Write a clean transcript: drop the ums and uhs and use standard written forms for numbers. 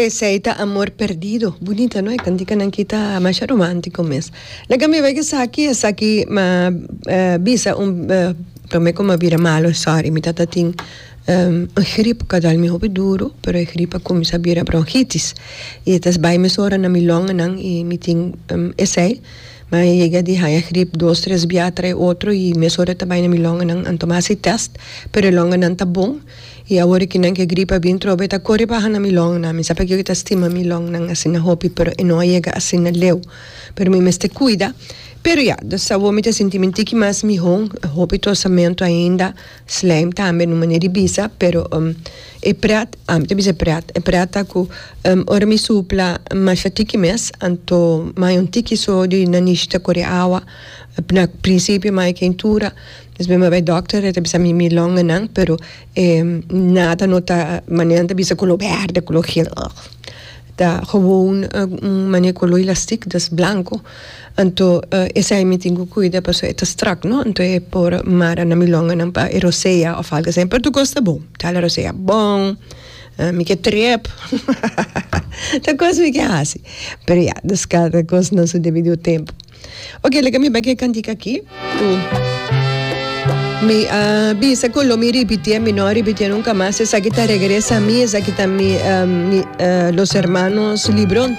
Esey ta amor perdido. Bunita no e canticanan ki ta masha romantico mes. Laga mi bay esaki, esaki ma bisa un prome cu mi a bira malo sorry mi tata tin un grip cu a dal mi hopi duro pero e grip a cuminsa bira bronchitis y e ta bay mesora na mi longanan y mi tin esey. Mi a yega di haña grip dos tres bia trae otro y mesora e ta bay na mi longanan anto mi a haci test pero e longanan ta bon. I awor ki nan ke grip a bin trobe ta kore baha na mi longnan. Mi sa pakiko ki ta stima mi longnan asina hopi, pero e no a yega asina leu. Pero mi mester kuida. Pero ya, dus awor mi ta sinti mi tiki mas mihó. Hopi tosamentu ainda, slijm tambe no manera di bisa, pero e pret, ami ta bisa e pret, e pret ta ku ora mi supla masha tiki mes, anto mi haña un tiki so di nanishi ta kore awa. Na prinsipio mi haña keintura. Despues mi a bai dokter, e ta bisa mi mi longanan, pero e nada no ta manera nan ta bisa color berde, color geel, ugh. Ta gewoon un manera color elastic, dus blanco. Anto esei mi tin cu cuida pasobra e ta strak, no? Anto e por mara na mi longanan pa e rosea of algo asina. Pero tur cos ta bon. Ta hala rosea bon, mi ke trip, tur cos mi ke haci. Pero ya, dus cada cos na su debido tempo. Ok, laga mi bai ku e kantika aki ku mi a bisa ku lo mi ripitié, mi no a ripitié nunka mas. Esaki ta Regresa a mi, esaki ta mi, mi, Los Hermanos Librón.